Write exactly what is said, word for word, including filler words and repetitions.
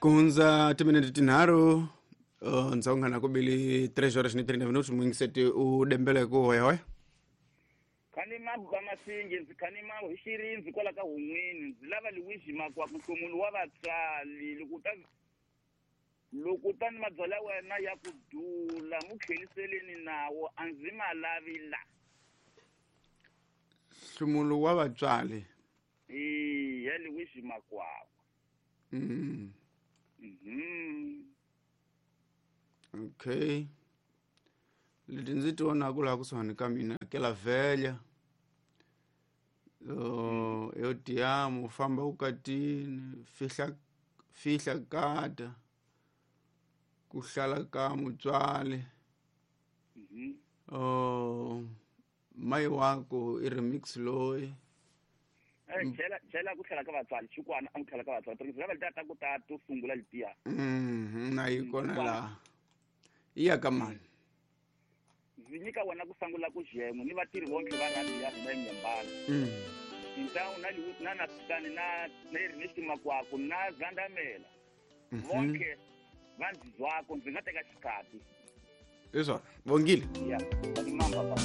Ku hundza timinete tinharhu uh, ndzawungana ku bili tres horas ni treinta minutos muyingiseti u dembele ku hoyahoya. Khani mabu ba masingi ndzi khani mabu hi xirindzi kwala ka hun'wini ndzi lava Luigi Makwakwa nhlomulu wa vatswali loko ta loko ta ni mabyala wena ya ku dula mu tlheliseleni nawo a ndzi ma lavi la. Nhlumulo wa vatswali. E ya Luigi Makwakwa. Mm. Mhm. Okay. Leti ndzi ti vonaku laha kusuhani ka mina kela vhelya uh, yo tiamu famba ukatini fihla fihla kata ku hlala ka mutswali. Mhm. uh, mai wako i remix loyi. Eh chela chela ku tlhela ka vatswali xikwana a ku tlhela ka vatswali porque lava letiya ta ku ta to sungula letiya. Mhm, na yi kona laha yi ya ka mani. Ndzi nyika wena ku sangula ku xen'we ni vatirhi vonke va rhandi ya hina eNyembani. Mm. Tintawu na Liwu- na Nasikani na na Ernest Makwakwa na Zandamela. Mhm. Vonke va ndzi zwako ndzi nga teka xikati. Hi swona vongile. Ya, va mamba.